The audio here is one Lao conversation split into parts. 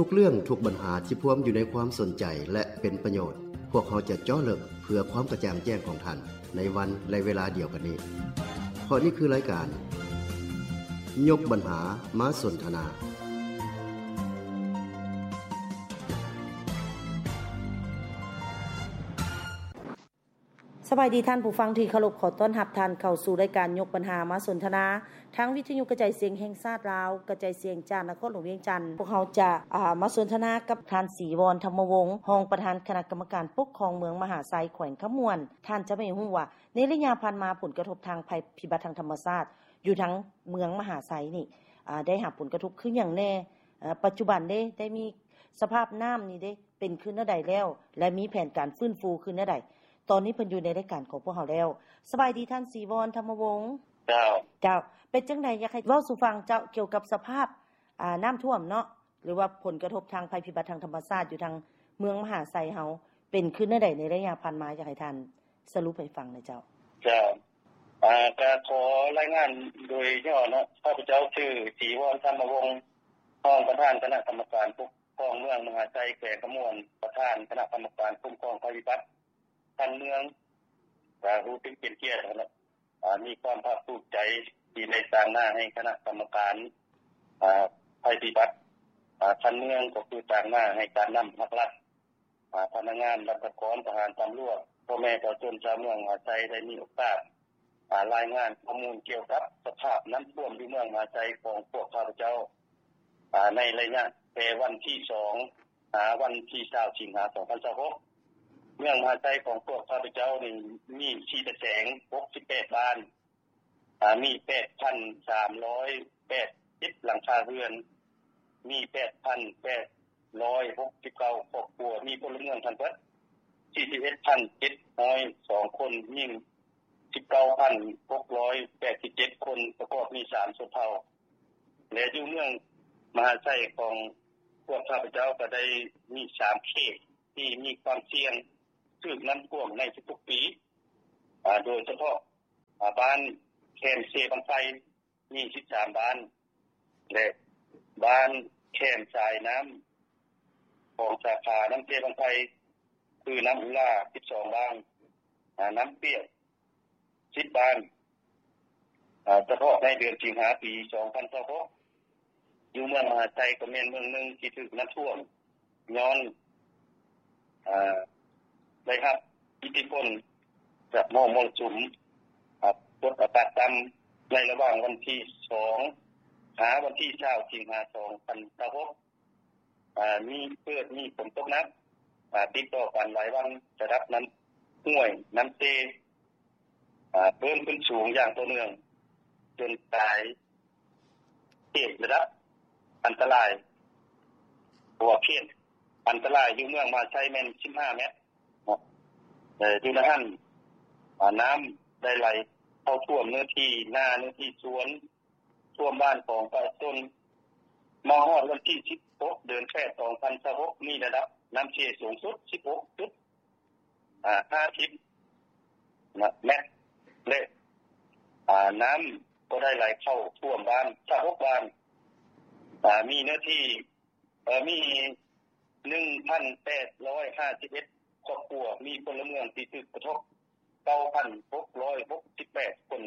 ທຸກເລື່ອງ, ທຸກບັນຫາທີ່ພວມຢູ່ໃນຄວາມສົນໃຈ ແລະ ເປັນປະໂຫຍດ, ພວກເຮົາຈະເຈາະເລິກເພື່ອຄວາມກະຈ່າງແຈ້ງຂອງທ່ານ ໃນວັນ ແລະ ເວລາດຽວກັນນີ້. ເພາະນີ້ຄືລາຍການ ຍົກບັນຫາມາສົນທະນາ. ສະບາຍດີທ່ານຜູ້ຟັງທີ່ເຄົາລົບ, ຂໍຕ້ອນຮັບທ່ານເຂົ້າສູ່ລາຍການຍົກບັນຫາມາສົນທະນາ ທາງວິທະຍຸກະຈາຍສຽງແຫ່ງຊາດລາວ, ກະຈາຍສຽງຈາກນະຄອນຫຼວງວຽງຈັນ. ພວກເຮົາຈະ ອາ ມາສົນທະນາກັບທ່ານ ສີວອນ ທຳມະວົງ, ຮອງປະທານຄະນະກຳມະການປົກຄອງເມືອງມະຫາໄຊ ແຂວງຄຳມ່ວນ. ທ່ານຈະໃຫ້ຮູ້ວ່າ ໃນໄລຍະຜ່ານມາ ຜົນກະທົບທາງໄພພິບັດທາງທຳມະຊາດຢູ່ທາງເມືອງມະຫາໄຊນີ້ ອາ ໄດ້ຮັບຜົນກະທົບຄືຫຍັງແດ່? ອາ ປັດຈຸບັນເດ ໄດ້ມີສະພາບນ້ຳນີ້ເດ ເປັນຂຶ້ນແນວໃດແລ້ວ ແລະ ມີແຜນການຟື້ນຟູຄືແນວໃດ? ຕອນນີ້ເພິ່ນຢູ່ໃນລາຍການຂອງພວກເຮົາແລ້ວ. ສະບາຍດີທ່ານ ສີວອນ ທຳມະວົງ. ເຈົ້າ. ເຈົ້າ. ເປັນຈັ່ງໃດ ຢາກໃຫ້ເວົ້າສູ່ຟັງເຈົ້າ ກ່ຽວກັບສະພາບ ອາ ນ້ຳຖ້ວມເນາະ ຫຼືວ່າຜົນກະທົບທາງໄພພິບັດທາງທຳມະຊາດຢູ່ທາງເມືອງມະຫາໄຊເຮົາ ເປັນຄືແນວໃດໃນໄລຍະຜ່ານມາ? ຢາກໃຫ້ທ່ານສະຫຼຸບໃຫ້ຟັງແດ່ເຈົ້າ. ເຈົ້າ. ອາ ກະຂໍລາຍງານໂດຍຫຍໍ້ເນາະ. ຂ້າພະເຈົ້າຊື່ ສີວອນ ທຳມະວົງ, ຮອງປະທານຄະນະກຳມະການປົກຄອງເມືອງມະຫາໄຊ ແຂວງຄຳມ່ວນ, ປະທານຄະນະກຳມະການຄຸ້ມຄອງໄພພິບັດຂັ້ນເມືອງ. ກະຮູ້ສຶກເປັນກຽດ ແລະ ອາ ມີຄວາມພາກພູມໃຈທີ່ໄດ້ຕາງໜ້າໃຫ້ຄະນະກຳມະການ ອາ ໄພພິບັດ ອາ ຂັ້ນເມືອງ ກໍຄືຕາງໜ້າໃຫ້ການນຳພັກລັດ, ອາ ພະນັກງານລັດຖະກອນ, ທະຫານ, ຕຳຫຼວດ, ພໍ່ແມ່ປະຊາຊົນຊາວເມືອງມະຫາໄຊ ໄດ້ມີໂອກາດ ອາ ລາຍງານຂໍ້ມູນກ່ຽວກັບສະພາບນ້ຳຖ້ວມຢູ່ເມືອງມະຫາໄຊຂອງພວກຂ້າພະເຈົ້າ ອາ ໃນໄລຍະແຕ່ວັນທີສອງ ຫາວັນທີຊາວ ສິງຫາ ສອງພັນຊາວຫົກ. ເມືອງມະຫາໄຊຂອງພວກຂ້າພະເຈົ້ານີ້ມີສີ່ຕາແສງ ຫົກສິບແປດບ້ານ, ອາ ມີແປດພັນສາມຮ້ອຍແປດສິບຫຼັງຄາເຮືອນ, ມີແປດພັນແປດຮ້ອຍຫົກສິບເກົ້າຄອບຄົວ, ມີພົນລະເມືອງທັງເບິດສີ່ສິບເອັດພັນເຈັດຮ້ອຍສອງຄົນ, ຍິງສິບເກົ້າພັນຫົກຮ້ອຍແປດສິບເຈັດຄົນ, ປະກອບມີສາມຊົນເຜົ່າ. ແລະ ຢູ່ເມືອງມະຫາໄຊຂອງພວກຂ້າພະເຈົ້າກໍໄດ້ມີສາມເຂດທີ່ມີຄວາມສ່ຽງຖືກນ້ຳຖ້ວມໃນທຸກໆປີ, ອາ ໂດຍສະເພາະ ອາ ບ້ານແຄມເຊບັ້ງໄຟ ມີສິບສາມບ້ານ ແລະ ບ້ານແຄມສາຍນ້ຳຂອງສາຂານ້ຳເຊບັ້ງໄຟ ຄືນ້ຳອຸລາ ສິບສອງບ້ານ, ອາ ນ້ຳປຽກ ສິບບ້ານ, ອາ ສະເພາະໃນເດືອນສິງຫາປີສອງພັນຊາວຫົກ ຢູ່ເມືອງມະຫາໄຊກໍແມ່ນເມືອງໜຶ່ງທີ່ຖືກນ້ຳຖ້ວມ ຍ້ອນ ອາ ໄດ້ຮັບອິດທິພົນຈາກໝໍມລະສຸມ ອາ ກົດອາກາດຕ່ຳ ໃນລະຫວ່າງວັນທີສອງ ຫາວັນທີຊາວ ສິງຫາ ສອງພັນຊາວຫົກ ອາ ມີ ເກີດມີຝົນຕົກໜັກ ອາ ຕິດຕໍ່ກັນຫຼາຍວັນ, ລະດັບນ້ຳຫ້ວຍນ້ຳເຊ ອາ ເພີ່ມຂຶ້ນສູງຢ່າງຕໍ່ເນື່ອງ ຈົນກາຍເຂດລະດັບອັນຕະລາຍ, ເພາະວ່າເຂດອັນຕະລາຍຢູ່ເມືອງມະຫາໄຊແມ່ນສິບຫ້າແມັດ ເອີ ຢູ່ໃນຫັ້ນ ອາ ນ້ຳໄດ້ໄຫຼເຂົ້າຖ້ວມເນື້ອທີ່ນາ, ເນື້ອທີ່ສວນ, ຖ້ວມບ້ານຂອງປະຊາຊົນ. ມາຮອດວັນທີສິບຫົກ ເດືອນແປດ ສອງພັນຊາວຫົກ ມີລະດັບນ້ຳເຊສູງສຸດສິບຫົກຈຸດ ອາ ຫ້າສິບນະ ແມັດ ແລະ ອາ ນ້ຳກໍໄດ້ໄຫຼເຂົ້າຖ້ວມບ້ານຊາວຫົກບ້ານ, ອາ ມີເນື້ອທີ່ ເອີ ມີໜຶ່ງພັນແປດຮ້ອຍຫ້າສິບເອັດຄອບຄົວ, ມີພົນລະເມືອງທີ່ຖືກກະທົບ ເກົ້າພັນຫົກຮ້ອຍຫົກສິບແປດຄົນ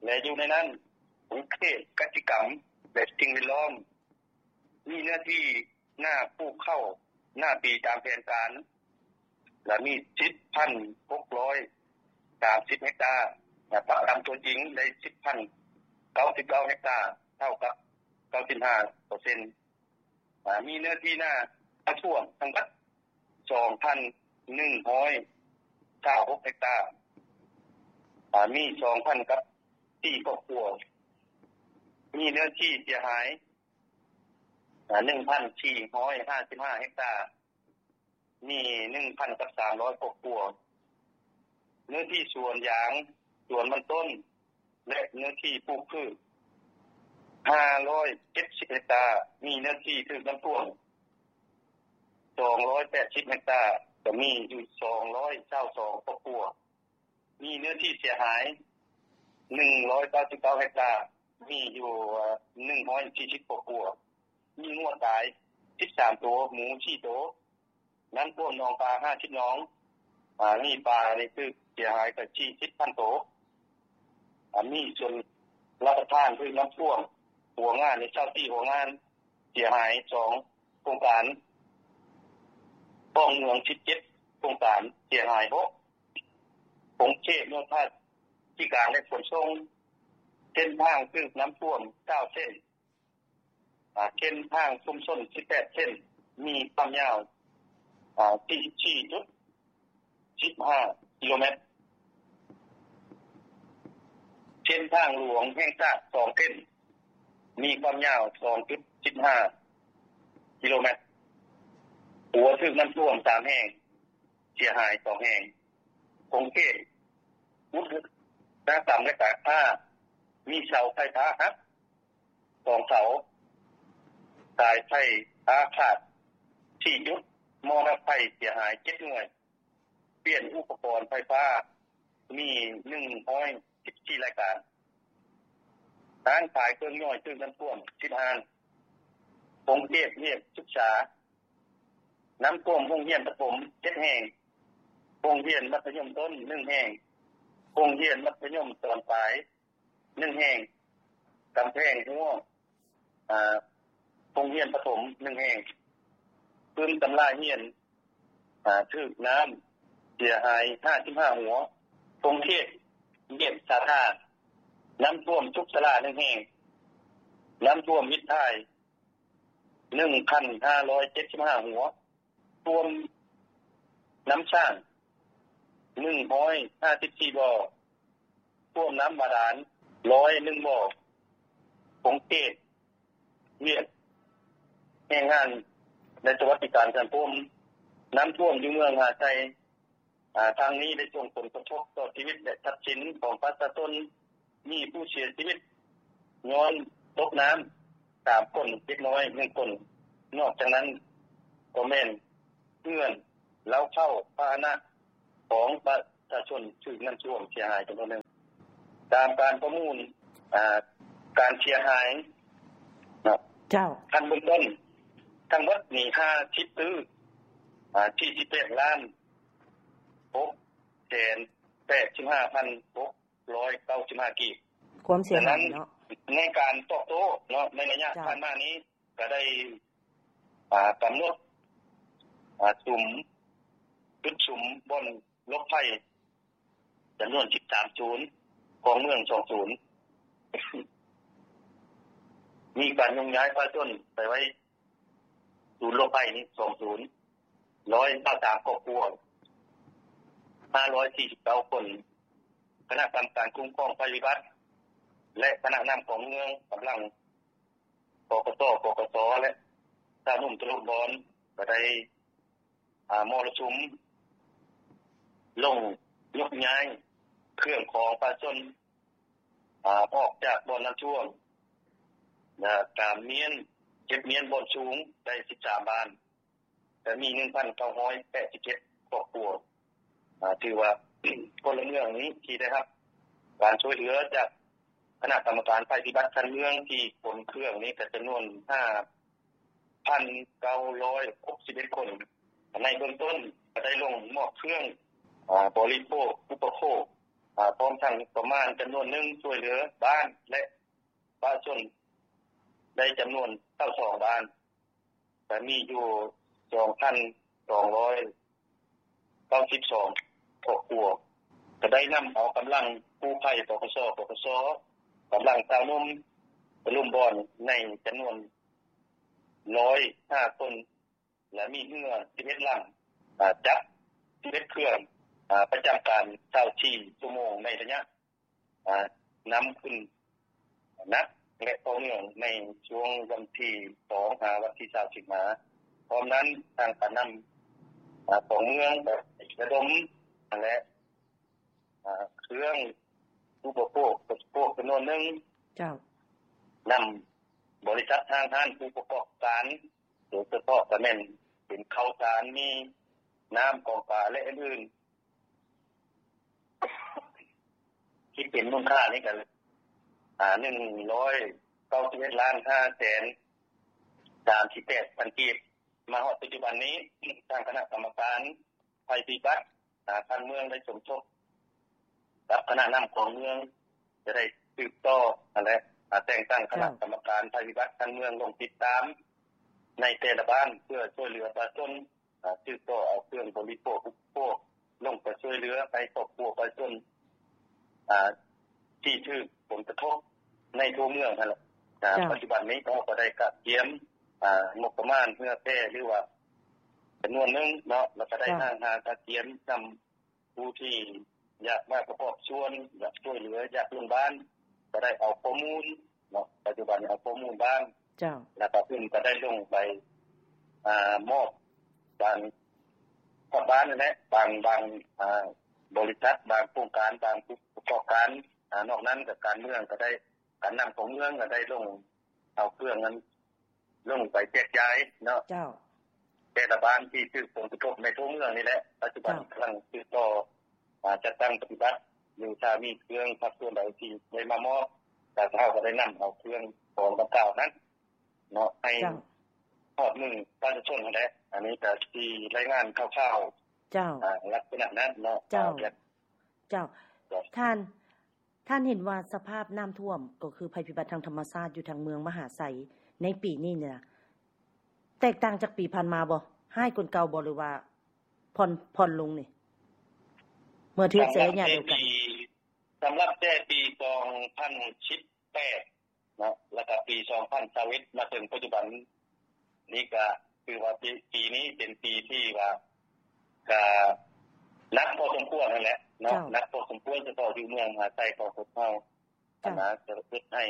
ແລະ ຢູ່ໃນນັ້ນ ຂົງເຂດກະສິກຳ ແລະ ສິ່ງແວດລ້ອມ ມີເນື້ອທີ່ນາປູກເຂົ້ານາປີຕາມແຜນການ ລະມີສິບພັນຫົກຮ້ອຍສາມສິບເຮັກຕາ, ແລະ ປະກຳຕົວຈິງໄດ້ສິບພັນເກົ້າສິບເກົ້າເຮັກຕາ, ເທົ່າກັບເກົ້າສິບຫ້າເປີເຊັນ. ອາ ມີເນື້ອທີ່ນານ້ຳຖ້ວມທັງໝົດສອງພັນໜຶ່ງຮ້ອຍຊາວຫົກເຮັກຕາ, ອາ ມີສອງພັນກັບສີ່ຄອບຄົວ, ມີເນື້ອທີ່ເສຍຫາຍ ອາ ໜຶ່ງພັນສີ່ຮ້ອຍຫ້າສິບຫ້າເຮັກຕາ, ມີໜຶ່ງພັນກັບສາມຮ້ອຍຄອບຄົວ, ເນື້ອທີ່ສວນຢາງ, ສວນມັນຕົ້ນ ແລະ ເນື້ອທີ່ປູກພືດຫ້າຮ້ອຍເຈັດສິບເຮັກຕາ, ມີເນື້ອທີ່ຖືກນ້ຳຖ້ວມສອງຮ້ອຍແປດສິບເຮັກຕາ, ກໍມີຢູ່ສອງຮ້ອຍຊາວສອງຄອບຄົວ, ມີເນື້ອທີ່ເສຍຫາຍໜຶ່ງຮ້ອຍເກົ້າສິບເກົ້າເຮັກຕາ, ມີຢູ່ ເອີ ໜຶ່ງຮ້ອຍສີ່ສິບຄອບຄົວ, ມີງົວຕາຍ ສິບສາມໂຕ, ໝູສີ່ໂຕ, ນ້ຳຖ້ວມໜອງປາຫ້າສິບໜອງ, ອາ ມີປານີ້ຖືກເສຍຫາຍກະສີ່ສິບພັນໂຕ. ອາ ມີສ່ວນລະປະທານຖືກນ້ຳຖ້ວມ, ຫົວງານນີ້ຊາວສີ່ຫົວງານເສຍຫາຍສອງໂຄງການ, ຂອງເມືອງສິບເຈັດໂຄງການເສຍຫາຍຫົກ, ຂົງເຂດໂຍທາທິການ ແລະ ຂົນສົ່ງ, ເສັ້ນທາງຖືກນ້ຳຖ້ວມເກົ້າເສັ້ນ, ອາ ເສັ້ນທາງຊຸມຊົນສິບແປດເສັ້ນ, ມີຄວາມຍາວ ອາ ສີ່ສິບສີ່ຈຸດສິບຫ້າກິໂລແມັດ, ເສັ້ນທາງຫຼວງແຫ່ງຊາດສອງເສັ້ນ, ມີຄວາມຍາວສອງຈຸດສິບຫ້າກິໂລແມັດ, ຂົວຖືກນ້ຳຖ້ວມສາມແຫ່ງ, ເສຍຫາຍສອງແຫ່ງ, ຂົງເຂດອຸດສາຫະກຳ ແລະ ການຄ້າ, ມີເສົາໄຟຟ້າຫັກ ສອງເສົາ, ສາຍໄຟຟ້າຂາດສີ່ຈຸດ, ໝໍ້ດັບໄຟເສຍຫາຍເຈັດໜ່ວຍ, ປ່ຽນອຸປະກອນໄຟຟ້າມີໜຶ່ງຮ້ອຍສິບສີ່ລາຍການ, ຮ້ານຂາຍເຄື່ອງຍ່ອຍຖືກນ້ຳຖ້ວມສິບຮ້ານ, ຂົງເຂດວຽກສຶກສາ, ນ້ຳຖ້ວມໂຮງຮຽນປະຖົມເຈັດແຫ່ງ, ໂຮງຮຽນມັດທະຍົມຕົ້ນໜຶ່ງແຫ່ງ, ໂຮງຮຽນມັດທະຍົມຕອນປາຍ ໜຶ່ງແຫ່ງ, ກຳແພງຮົ້ວ ອາ ໂຮງຮຽນປະຖົມໜຶ່ງແຫ່ງ, ປຶ້ມຕຳລາຮຽນ ອາ ຖືກນ້ຳເສຍຫາຍຫ້າສິບຫ້າຫົວ, ຂົງເຂດວຽກສາທາ, ນ້ຳຖ້ວມທຸກສາລາໜຶ່ງແຫ່ງ, ນ້ຳຖ້ວມວິດຖ່າຍໜຶ່ງພັນຫ້າຮ້ອຍເຈັດສິບຫ້າຫົວ, ຖ້ວມນ້ຳສ້າງໜຶ່ງຮ້ອຍຫ້າສິບສີ່ບໍ່, ຖ້ວມນ້ຳບາດານຮ້ອຍໜຶ່ງບໍ່, ຂົງເຂດວຽກແຮງງານ ແລະ ສະຫວັດດີການສັງຄົມ, ນ້ຳຖ້ວມຢູ່ເມືອງຫາດໄຊ, ອາ ທາງນີ້ໄດ້ສົ່ງຜົນກະທົບຕໍ່ຊີວິດ ແລະ ຊັບສິນຂອງປະຊາຊົນ, ມີຜູ້ເສຍຊີວິດຍ້ອນຕົກນ້ຳສາມຄົນ, ເດັກນ້ອຍໜຶ່ງຄົນ, ນອກຈາກນັ້ນກໍແມ່ນເຮືອນ, ເລົ້າເຂົ້າ, ພາຫະນະຂອງປະຊາຊົນຖືກນ້ຳຖ້ວມເສຍຫາຍຈຳນວນໜຶ່ງ. ຕາມການປະເມີນ ອາ ການເສຍຫາຍເນາະ, ເຈົ້າ, ຂັ້ນເບື້ອງຕົ້ນທັງໝົດນີ້ຫ້າສິບຕື້ ອາ ສີ່ສິບແປດລ້ານຫົກແສນແປດສິບຫ້າພັນຫົກ ຮ້ອຍເກົ້າສິບຫ້າກີບ. ຄວາມເສຍຫາຍເນາະ. ໃນການຕອບໂຕ້ເນາະ ໃນໄລຍະ ເຈົ້າ ຜ່ານມານີ້ ກະໄດ້ ອາ ກຳນົດ ອາ ສຸມ ຈຸດສຸມບ່ອນຫຼົບໄພ ຈຳນວນສິບສາມສູນ, ຂອງເມືອງສອງສູນ, ມີການຍົກຍ້າຍປະຊາຊົນໄປໄວ້ສູນຫຼົບໄພນີ້ສອງສູນ, ຮ້ອຍຊາວສາມຄອບຄົວ, ຫ້າຮ້ອຍສີ່ສິບເກົ້າຄົນ. ຄະນະກຳມະການຄຸ້ມຄອງໄພພິບັດ ແລະ ຄະນະນຳຂອງເມືອງ, ກຳລັງ ປກສ, ປກສ ແລະ ຊາວໜຸ່ມຕະລຸບອນ ກໍໄດ້ ອາ ມໍລະສຸມ ລົງຍົກຍ້າຍເຄື່ອງຂອງປະຊາຊົນ ອາ ອອກຈາກບ່ອນນ້ຳຖ້ວມ ແລະ ການມ້ຽນ, ເກັບມ້ຽນບ່ອນສູງໄດ້ສິບສາມບ້ານ. ແລະ ມີໜຶ່ງພັນເກົ້າຮ້ອຍແປດສິບເຈັດຄອບຄົວ. ອາ ຖືວ່າ ພົນລະເມືອງນີ້ທີ່ໄດ້ຮັບການຊ່ວຍເຫຼືອຈາກຄະນະກຳມະການໄພພິບັດຂັ້ນເມືອງທີ່ຂົນເຄື່ອງນີ້ກໍຈຳນວນຫ້າພັນເກົ້າຮ້ອຍຫົກສິບເອັດຄົນ. ໃນເບື້ອງຕົ້ນກໍໄດ້ລົງມອບເຄື່ອງ ອາ ບໍລິໂພກ ອຸປະໂພກ ອາ ພ້ອມທັງງົບປະມານຈຳນວນໜຶ່ງຊ່ວຍເຫຼືອບ້ານ ແລະ ປະຊາຊົນໄດ້ຈຳນວນຊາວສອງບ້ານ, ແລະ ມີຢູ່ສອງພັນສອງຮ້ອຍເກົ້າສິບສອງຄອບຄົວ. ກະໄດ້ນຳເອົາກຳລັງກູ້ໄພ ປກສ, ປກສ, ກຳລັງຊາວໜຸ່ມຕະລຸມບອນໃນຈຳນວນຮ້ອຍຫ້າຄົນ ແລະ ມີເຮືອສິບເອັດລຳ, ອາ ຈັກສິບເອັດເຄື່ອງ, ອາ ປະຈຳການຊາວສີ່ຊົ່ວໂມງໃນໄລຍະ ອາ ນຳຂຶ້ນໜັກ ແລະ ຕໍ່ເນື່ອງໃນຊ່ວງວັນທີສອງຫາວັນທີຊາວສິງຫາ. ພ້ອມນັ້ນ ທາງການນຳ ອາ ຂອງເມືອງກໍໄດ້ລະດົມ ແລະ ອາ ເຄື່ອງອຸປະໂພກ ອຸປະໂພກຈຳນວນໜຶ່ງ. ເຈົ້າ. ນຳບໍລິສັດ ຫ້າງຮ້ານ ຜູ້ປະກອບການ ໂດຍສະເພາະກໍແມ່ນເປັນເຂົ້າສານ ມີນ້ຳ ກອງປາ ແລະ ອື່ນໆ ທີ່ເປັນມູນຄ່ານີ້ກໍ ອາ ໜຶ່ງຮ້ອຍເກົ້າສິບເອັດລ້ານຫ້າແສນ ສາມສິບແປດພັນກີບ. ມາຮອດປັດຈຸບັນນີ້ ທາງຄະນະກຳມະການໄພພິບັດ ອາ ຂັ້ນເມືອງໄດ້ສົມທົບກັບຄະນະນຳຂອງເມືອງ ຈະໄດ້ສືບຕໍ່ຫັ້ນແຫຼະ ອາ ແຕ່ງຕັ້ງຄະນະ ເຈົ້າ ກຳມະການໄພພິບັດຂັ້ນເມືອງລົງຕິດຕາມໃນແຕ່ລະບ້ານ ເພື່ອຊ່ວຍເຫຼືອປະຊາຊົນ ອາ ສືບຕໍ່ເອົາເຄື່ອງບໍລິໂພກອຸປະໂພກ ລົງໄປຊ່ວຍເຫຼືອໃຫ້ຄອບຄົວປະຊາຊົນ ອາ ທີ່ຖືກຜົນກະທົບໃນທົ່ວເມືອງຫັ້ນແຫຼະ. ອາ ເຈົ້າ ປັດຈຸບັນນີ້ເຮົາກໍໄດ້ກະກຽມ ອາ ງົບປະມານເຫື່ອແຜ່ ຫຼືວ່າຈຳນວນໜຶ່ງເນາະ ແລ້ວກໍໄດ້ ເຈົ້າ ຫ້າງຫາກະກຽມນຳຜູ້ທີ່ຢາກມາປະກອບສ່ວນ ຢາກຊ່ວຍເຫຼືອ ຢາກລົງບ້ານ ກໍໄດ້ເອົາຂໍ້ມູນ ເນາະ ປັດຈຸບັນເອົາຂໍ້ມູນບ້ານ ເຈົ້າ ແລ້ວກໍເພິ່ນກໍໄດ້ລົງໄປ ອາ ມອບບາງ ທາງບ້ານນັ້ນແຫຼະ ບາງ ບາງ ອາ ບໍລິສັດ ບາງໂຄງການ ບາງຜູ້ປະກອບການ ອາ ນອກນັ້ນກໍການເມືອງກໍໄດ້ ການນຳຂອງເມືອງກໍໄດ້ລົງເອົາເຄື່ອງນັ້ນ ລົງໄປແຈກຢາຍເນາະ ເຈົ້າ ແຕ່ລະບ້ານທີ່ຖືກຜົນກະທົບໃນທົ່ວເມືອງນີ້ແຫຼະ. ປັດຈຸບັນ ເຈົ້າ ກຳລັງສືບຕໍ່ ອາ ຈັດຕັ້ງປະຕິບັດຢູ່ ຖ້າມີເຄື່ອງພາກສ່ວນໃດທີ່ໄດ້ມາມອບ ແລ້ວເຮົາກໍໄດ້ນຳເອົາເຄື່ອງຂອງດັ່ງກ່າວນັ້ນເນາະ ໃຫ້ ເຈົ້າ ຮອດມືປະຊາຊົນຫັ້ນແຫຼະ. ອັນນີ້ກໍຊິລາຍງານຂ່າວໆ ເຈົ້າ ອາ ລັກສະນະນັ້ນເນາະ. ເຈົ້າ ເຈົ້າ ເຈົ້າ ທ່ານ ທ່ານເຫັນວ່າສະພາບນ້ຳຖ້ວມ ກໍຄືໄພພິບັດທາງທຳມະຊາດຢູ່ທາງເມືອງມະຫາໄຊໃນປີນີ້ນີ້ນະ ແຕກຕ່າງຈາກປີຜ່ານມາບໍ່? ຮ້າຍກວ່າເກົ່າບໍ່ ຫຼືວ່າຜ່ອນ ຜ່ອນລົງນີ້ ເມື່ອທຽບໃສ່ໄລຍະດຽວກັນ? ສຳລັບແຕ່ປີສອງພັນສິບແປດ ເນາະ ແລ້ວກໍປີສອງພັນຊາວເອັດ ມາເຖິງປັດຈຸບັນນີ້ ກໍຄືວ່າປີ ປີນີ້ເປັນປີທີ່ວ່າ ກໍໜັກພໍສົມຄວນຫັ້ນແຫຼະເນາະ ເຈົ້າ ໜັກພໍສົມຄວນ ສະເພາະຢູ່ເມືອງມະຫາໄຊຂອງພວກເຮົາ ເຈົ້າ ອັນນະ ກໍເຮັດໃຫ້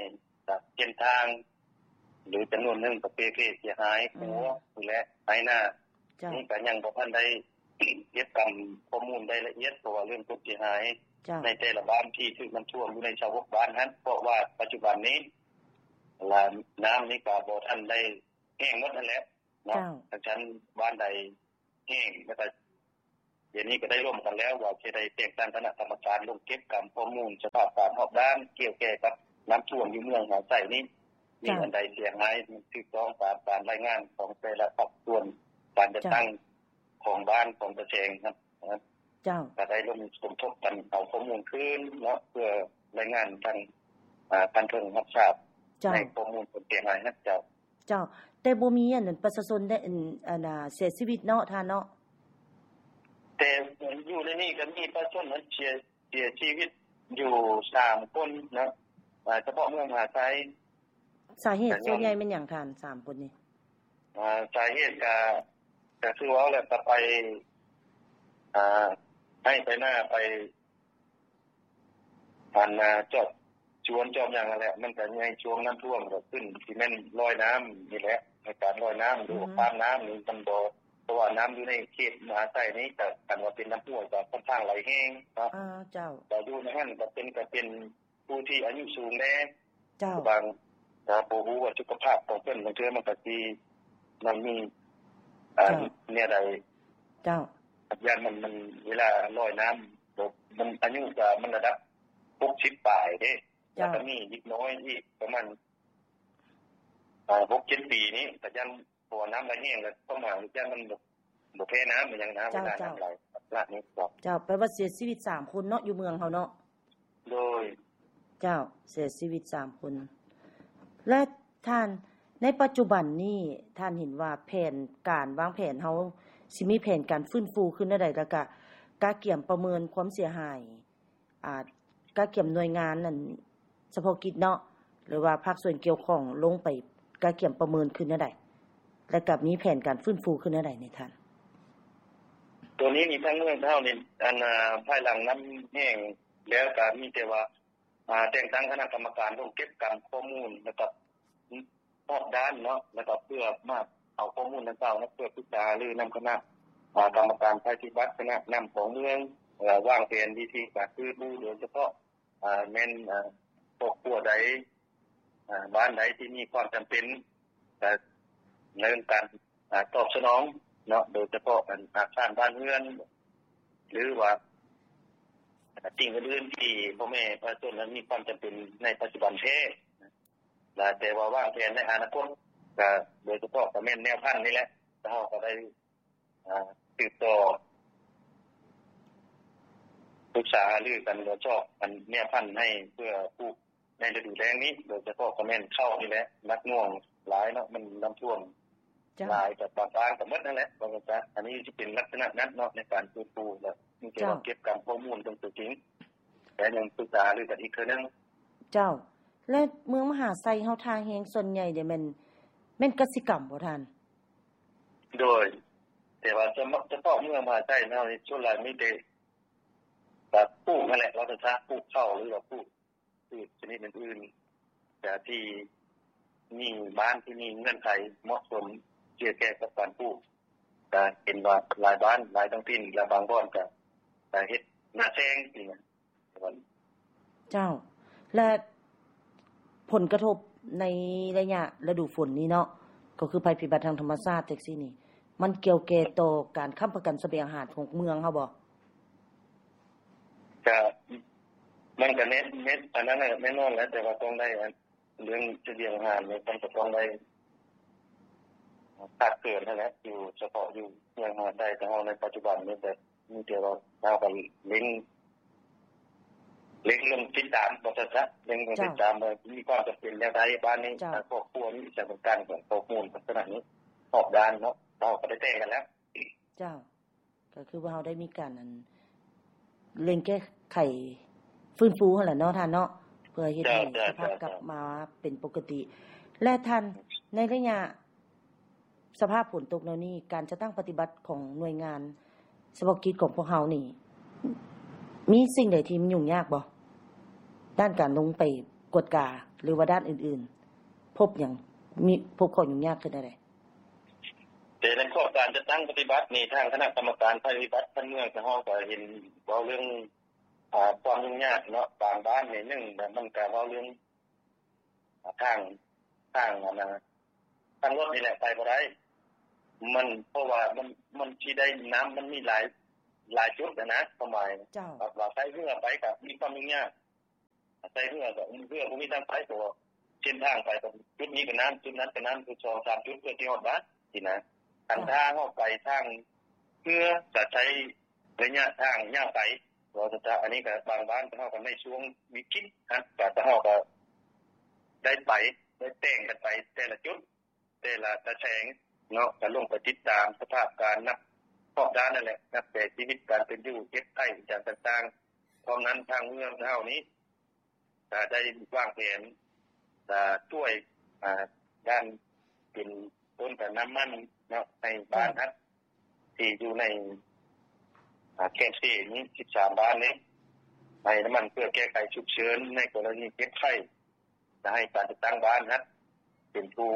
ເສັ້ນທາງ ຫຼື ຈຳນວນໜຶ່ງກໍເປ່ເພເສຍຫາຍ ອືມ ຫົວ ນີ້ແຫຼະ ໄຮ່ນາ ເຈົ້າ ນີ້ກໍຍັງບໍ່ທັນໄດ້ເກັບກຳຂໍ້ມູນໄດ້ລະອຽດ ເພາະວ່າເລື່ອງຄວາມເສຍຫາຍ ເຈົ້າ ໃນແຕ່ລະບ້ານທີ່ຖືກນ້ຳຖ້ວມຢູ່ໃນຊາວຫົກບ້ານຫັ້ນ ເພາະວ່າປັດຈຸບັນນີ້ ລະ ນ້ຳນີ້ກໍບໍ່ທັນໄດ້ແຫ້ງໝົດຫັ້ນແຫຼະເນາະ ເຈົ້າ ທັງຊັ້ນບ້ານໃດແຫ້ງ ແລ້ວກໍ ດຽວນີ້ກໍໄດ້ຮ່ວມກັນແລ້ວວ່າຈະໄດ້ແຕ່ງຕັ້ງຄະນະກຳມະການລົງເກັບກຳຂໍ້ມູນສະພາບການຮອບດ້ານກ່ຽວແກ່ກັບນ້ຳຖ້ວມຢູ່ເມືອງມະຫາໄຊນີ້ ມີ ເຈົ້າ ອັນໃດເສຍຫາຍຖືກຕ້ອງຕາມການລາຍງານຂອງແຕ່ລະພາກສ່ວນການຈັດຕັ້ງ ເຈົ້າ ຂອງບ້ານຂອງຕາແສງຫັ້ນ ເຈົ້າ ກໍໄດ້ລົງສົມທົບກັນເອົາຂໍ້ມູນຄືນເນາະ ເພື່ອລາຍງານທາງ ອາ ຂັ້ນເທິງຮັບຊາບ ເຈົ້າ ໃນຂໍ້ມູນຄວາມເສຍຫາຍຫັ້ນ ເຈົ້າ. ເຈົ້າ ແຕ່ບໍ່ມີອັນນັ້ນ ປະຊາຊົນໄດ້ ອັນ ອັນ ອາ ເສຍຊີວິດເນາະທ່ານເນາະ? ແຕ່ຢູ່ໃນນີ້ກໍມີປະຊາຊົນເສຍ ເສຍຊີວິດຢູ່ສາມຄົນເນາະ ອາ ສະເພາະເມືອງມະຫາໄຊ. ສາເຫດສ່ວນໃຫຍ່ແມ່ນຫຍັງທ່ານ ສາມຄົນນີ້? ອາ ສາເຫດກະ ກະຄືເວົ້າແຫຼະ ກະໄປ ອາ ໄຮ່ໄປນາ ໄປ ອັນນ່າ ຈອດສວນຈອດຫຍັງຫັ້ນແຫຼະ ມັນກະໃນຊ່ວງນ້ຳຖ້ວມ ກະຂຶ້ນຊິແມ່ນລອຍນ້ຳນີ້ແຫຼະ ໃນການລອຍນ້ຳ ຫຼື ອືມ ຂ້າມນ້ຳນີ້ມັນບໍ່ ເພາະວ່ານ້ຳຢູ່ໃນເຂດມະຫາໄຊນີ້ ກະຄັນວ່າເປັນນ້ຳຫ້ວຍກະຄ່ອນຂ້າງໄຫຼແຮງເນາະ. ອາ ເຈົ້າ ກະຢູ່ໃນຫັ້ນກະເປັນ ກະເປັນຜູ້ທີ່ອາຍຸສູງແດ່ ເຈົ້າ ບາງ ກະບໍ່ຮູ້ວ່າສຸຂະພາບຂອງເພິ່ນ ບາງເທື່ອມັນກະຊິ ມັນມີ ອາ ເຈົ້າ ແນວໃດ ເຈົ້າ ຢ້ານມັນ ມັນເວລາລອຍນ້ຳ ມັນອາຍຸກະມັນລະດັບຫົກສິບປາຍເດ້ ເຈົ້າ ແລ້ວກະມີເດັກນ້ອຍອີກປະມານ ອາ ຫົກເຈັດປີນີ້ ກະຢ້ານ ເພາະວ່ານ້ຳໄຫຼແຮງແລ້ວ ປະມານຢ້ານມັນບໍ່ ບໍ່ແພ້ນ້ຳອີ່ຫຍັງນະ ເຈົ້າ ເວລານ້ຳໄຫຼ ເຈົ້າ ລັກສະນະນີ້ເນາະ. ເຈົ້າ ແປວ່າເສຍຊີວິດສາມຄົນເນາະ ຢູ່ເມືອງເຮົາເນາະ. ໂດຍ ເຈົ້າ ເສຍຊີວິດສາມຄົນ. ແລະທ່ານ ໃນປັດຈຸບັນນີ້ ທ່ານເຫັນວ່າແຜນການ ວາງແຜນເຮົາຊິມີແຜນການຟື້ນຟູຄືແນວໃດ ແລ້ວກະກະກຽມປະເມີນຄວາມເສຍຫາຍ ອາ ກະກຽມໜ່ວຍງານນັ້ນສະເພາະກິດເນາະ ຫຼືວ່າພາກສ່ວນກ່ຽວຂ້ອງລົງໄປກະກຽມປະເມີນຄືແນວໃດ ແລ້ວກະມີແຜນການຟື້ນຟູຄືແນວໃດນີ້ທ່ານ? ໂຕນີ້ນີ້ທາງເມືອງເຮົານີ້ ອັນ ອາ ພາຍຫຼັງນ້ຳແຫ້ງ ແລ້ວກະມີແຕ່ວ່າ ອາ ແຕ່ງຕັ້ງຄະນະກຳມະການລົງເກັບກຳຂໍ້ມູນ ແລ້ວກະຮອບດ້ານເນາະ ແລ້ວກະເພື່ອມາເອົາຂໍ້ມູນດັ່ງກ່າວເນາະ ເພື່ອປຶກສາຫາລືນຳຄະນະ ອາ ກຳມະການໄພພິບັດ ຄະນະນຳຂອງເມືອງ ແລະ ວາງແຜນວິທີການຟື້ນຟູ ໂດຍສະເພາະ ອາ ແມ່ນ ອາ ຄອບຄົວໃດ ອາ ບ້ານໃດທີ່ມີຄວາມຈຳເປັນ ກະເລື່ອງການ ອາ ຕອບສະໜອງເນາະ ໂດຍສະເພາະ ອັນ ອາຄານບ້ານເຮືອນ ຫຼືວ່າ ອາ ສິ່ງອື່ນໆທີ່ພໍ່ແມ່ປະຊາຊົນນັ້ນມີຄວາມຈຳເປັນໃນປັດຈຸບັນແທ້ ແລະ ແຕ່ວ່າວາງແຜນໃນອະນາຄົດ ກໍໂດຍສະເພາະກໍແມ່ນແນວພັນນີ້ແຫຼະ ເຮົາກໍໄດ້ ອາ ສືບຕໍ່ ປຶກສາຫາລືກັນ ແລະ ຊອກອັນແນວພັນໃຫ້ເພື່ອປູກໃນລະດູແລ້ງນີ້ ໂດຍສະເພາະກໍແມ່ນເຂົ້ານີ້ແຫຼະ ໜັກໜ່ວງຫຼາຍເນາະ ມັນນ້ຳຖ້ວມ ເຈົ້າ ຫຼາຍ ກໍບາງບ້ານກໍໝົດນັ້ນແຫຼະ ວ່າຊັ້ນຊະ. ອັນນີ້ຊິເປັນລັກສະນະນັ້ນເນາະ ໃນການຟື້ນຟູ ແລະ ມີແຕ່ວ່າ ເຈົ້າ ເກັບກຳຂໍ້ມູນເບິ່ງຕົວຈິງ ແລະ ຍັງປຶກສາຫາລືກັນອີກເທື່ອໜຶ່ງ. ເຈົ້າ ແລະ ເມືອງມະຫາໄຊເຮົາ ທ່າແຮງສ່ວນໃຫຍ່ນີ້ແມ່ນ ແມ່ນກະສິກຳບໍ່ທ່ານ? ໂດຍ ແຕ່ວ່າສະເພາະເມືອງມະຫາໄຊເຮົານີ້ ສ່ວນຫຼາຍມີແຕ່ ແບບປູກຫັ້ນແຫຼະ ວ່າຊັ້ນຊະ ປູກເຂົ້າ ຫຼືວ່າປູກພືດຊະນິດອື່ນໆ ແຕ່ທີ່ມີບ້ານທີ່ມີເງື່ອນໄຂເໝາະສົມ ທີ່ຈະແກ່ກັບການປູກ ກະເຫັນວ່າຫຼາຍບ້ານ ຫຼາຍທ້ອງຖິ່ນ ແລະ ບາງບ່ອນກະ ກະເຮັດນາແຊງ ຈັ່ງຊີ້ນະ. ເຈົ້າ ແລະ ຜົນກະທົບໃນໄລຍະລະດູຝົນນີ້ເນາະ ກໍຄືໄພພິບັດທາງທຳມະຊາດຈັ່ງຊີ້ນີ້ ມັນກ່ຽວແກ່ຕໍ່ການຄ້ຳປະກັນສະບຽງອາຫານຂອງເມືອງເຮົາບໍ່? ກະ ມັນກະແນ່ນ ແນ່ນ ອັນນັ້ນແນ່ນອນແຫຼະ ແຕ່ວ່າຕ້ອງໄດ້ ອັນ ເລື່ອງສະບຽງອາຫານນີ້ ມັນກະຕ້ອງໄດ້ຂາດເຂີນຫັ້ນແຫຼະ ຢູ່ສະເພາະຢູ່ເມືອງມະຫາໄຊ ແຕ່ເຮົາໃນປັດຈຸບັນນີ້ ແບບ ມີແຕ່ວ່າເຮົາກໍເລັ່ງ ເລັ່ງລົງຕິດຕາມ ວ່າຊັ້ນຊະ ເລັ່ງລົງຕິດຕາມວ່າມີຄວາມຈຳເປັນແນວໃດ ບ້ານນີ້ ເຈົ້າ ຄອບຄົວນີ້ ສະຖານການຂອງຄອບຄົວລັກສະນະນີ້ຮອບດ້ານເນາະ ເຮົາກໍໄດ້ແຈ້ງກັນແລ້ວ. ເຈົ້າ ກໍຄືວ່າເຮົາໄດ້ມີການ ອັນ ເລັ່ງແກ້ໄຂຟື້ນຟູຫັ້ນແຫຼະເນາະທ່ານເນາະ ເພື່ອເຮັດໃຫ້ ເຈົ້າ ສະພາບ ເຈົ້າ ກັບມາເປັນປົກກະຕິ ແລະ ທ່ານ ໃນໄລຍະ ສະພາບຝົນຕົກແນວນີ້ ການຈັດຕັ້ງປະຕິບັດຂອງໜ່ວຍງານສະເພາະກິດຂອງພວກເຮົານີ້ ມີສິ່ງໃດທີ່ມັນຫຍຸ້ງຍາກບໍ່? ດ້ານການລົງໄປກວດກາ ຫຼືວ່າດ້ານອື່ນໆ ພົບຫຍັງ ມີ ພົບຂໍ້ຫຍຸ້ງຍາກຄືແນວໃດ? ແຕ່ໃນຂອບການຈັດຕັ້ງປະຕິບັດນີ້ ທາງຄະນະກຳມະການໄພພິບັດຂັ້ນເມືອງ ເຮົາກໍເຫັນເວົ້າເລື່ອງ ອາ ຄວາມຫຍຸ້ງຍາກເນາະ ບາງບ້ານນີ້ ໜຶ່ງ ມັນກໍເວົ້າເລື່ອງ ທາງ ທາງ ອັນນ່າ ທາງລົດນີ້ແຫຼະໄປບໍ່ໄດ້ ມັນ ເພາະວ່າມັນ ມັນຊິໄດ້ ນ້ຳມັນມີຫຼາຍ ຫຼາຍຈຸດຫັ້ນນະ ຄວາມໝາຍ ເຈົ້າ ວ່າໃຊ້ເຮືອໄປກໍມີຄວາມຫຍຸ້ງຍາກ ໃຊ້ເຮືອກໍເຮືອບໍ່ມີທາງໄປ ເພາະວ່າເສັ້ນທາງໄປ ຈຸດນີ້ກໍນ້ຳ ຈຸດນັ້ນກໍນ້ຳ ສອງສາມຈຸດ ເພື່ອຊິຮອດບ້ານຊີ້ນະ. ຄັນຖ້າເຮົາໄປທາງເຮືອ ກໍໃຊ້ ໄລຍະທາງຍາວໄກ ເວົ້າຊະຊະ ອັນນີ້ກໍບາງບ້ານເຮົາກໍໃນຊ່ວງວິກິດຫັ້ນ ກໍເຮົາກໍໄດ້ໄປ ໄດ້ແຕ່ງກັນໄປແຕ່ລະຈຸດ ແຕ່ລະຕາແສງເນາະ ກໍລົງໄປຕິດຕາມສະພາບການນັບຮອບດ້ານນັ້ນແຫຼະ ນັບແຕ່ຊີວິດການເປັນຢູ່ ເຈັບໄຂ້ອີ່ຫຍັງຕ່າງໆ. ພ້ອມນັ້ນທາງເມືອງເຮົານີ້ ກະໄດ້ວາງແຜນ ກະຊ່ວຍ ອາ ດ້ານເປັນຕົ້ນກະນ້ຳມັນເນາະ ໃຫ້ບ້ານຮັດທີ່ຢູ່ໃນ ອາ ແຄມເຊນີ້ ສິບສາມບ້ານນີ້ ໃຫ້ນ້ຳມັນເພື່ອແກ້ໄຂສຸກເສີນໃນກໍລະນີເຈັບໄຂ້ ກະໃຫ້ການຈັດຕັ້ງບ້ານຫັ້ນເປັນຜູ້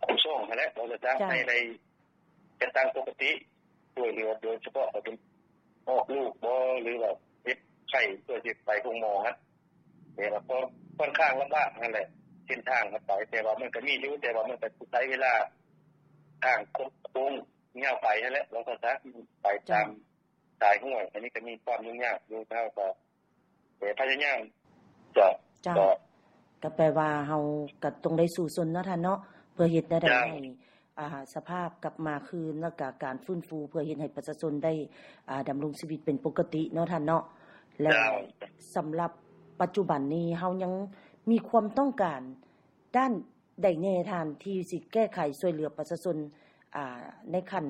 ຄຸ້ມຄອງຫັ້ນແຫຼະ ເວົ້າຊະຊະ ໃຫ້ໄດ້ຈັດຕັ້ງປົກກະຕິ ຊ່ວຍເຫຼືອ ໂດຍສະເພາະເປັນອອກລູກບໍ ຫຼືວ່າເຈັບໄຂ້ ເພື່ອຊິໄປໂຮງໝໍຫັ້ນ ແຕ່ວ່າກໍຂ້ອນຂ້າງລຳບາກຫັ້ນແຫຼະ ເສັ້ນທາງໄປ ແຕ່ວ່າມັນກໍມີຢູ່ ແຕ່ວ່າມັນກໍຊິໃຊ້ເວລາ ທາງຄົດໂຄ້ງຍາວໄກຫັ້ນແຫຼະ ເວົ້າຊະຊະ ໄປຕາມ ສາຍຫ້ວຍ ອັນນີ້ກໍມີຄວາມຫຍຸ້ງຍາກຢູ່ ເຮົາກໍ ແຕ່ພະຍາຍາມຈະ ເຈົ້າ ກໍ ກໍແປວ່າເຮົາກໍຕ້ອງໄດ້ສູ້ຊົນເນາະທ່ານເນາະ ເພື່ອເຮັດແນວໃດ ເຈົ້າ ໃຫ້ ອ່າ ສະພາບກັບມາຄືນ ແລ້ວກໍການຟື້ນຟູ ເພື່ອເຮັດໃຫ້ປະຊາຊົນໄດ້ ອ່າ ດຳລົງຊີວິດເປັນປົກກະຕິເນາະທ່ານເນາະ ແລະ ເຈົ້າ ສຳລັບປັດຈຸບັນນີ້ ເຮົາຍັງມີຄວາມຕ້ອງການດ້ານໃດແດ່ທ່ານ ທີ່ຊິແກ້ໄຂຊ່ວຍເຫຼືອປະຊາຊົນ ອ່າ ໃນຂັ້ນ